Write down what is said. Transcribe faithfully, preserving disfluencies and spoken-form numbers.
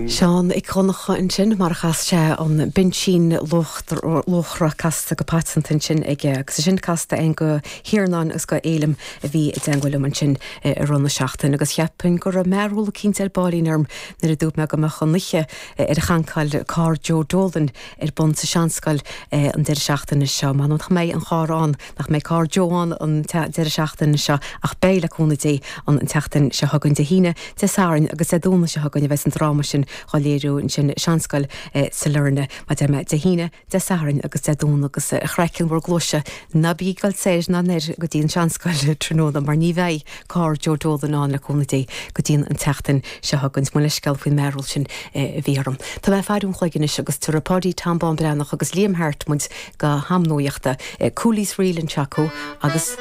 Seán Mhic Dhonncha ansin mar a chas sé an Binsín Luachra casta go paiteanta ansin aige agus sin casta againn do Thiarnán agus do Fhéilim a bhí i dteagmháil liom ansin i rith na seachtaine agus cheapfainn go raibh mearbhall eicínt ar baillín orm nuair a dúirt mé go mbeadh an oíche ar a chancáil carr Joe Dolan ar bun sa Seanscoil an deireadh seachtaine seo. Man nach mbeidh an carr ann nach mbeidh carr Joe ann an deireadh seachtaine seo ach beidh le cúnamh Dé an an tseachtain seo chugainn Dé hAoine Dé Sathairn agus Dé Domhnaigh seo chugainn a bheas an dráma sin á léiriú ansin sa Seanscoil sa Lorna mar a deir mé Dé hAoine Dé Sathairn agus Dé Domhnaigh agus a chraiceann bhur gcluaise ná bí ag dul soir ná anoir go dtí an Seanscoil tráthnóna mar ní bheidh carr Joe Dolan ann le cúnamh Dé go dtí an tseachtain seo chugainn mo leithscéal faoin mearbhall sin a bhí orm. Tá mé faire an chloig anois agus tabharfaidh Páidí Tom Bán Breathnach agus Liam Hart muid go ham nuachta Cooley's Reel anseo agus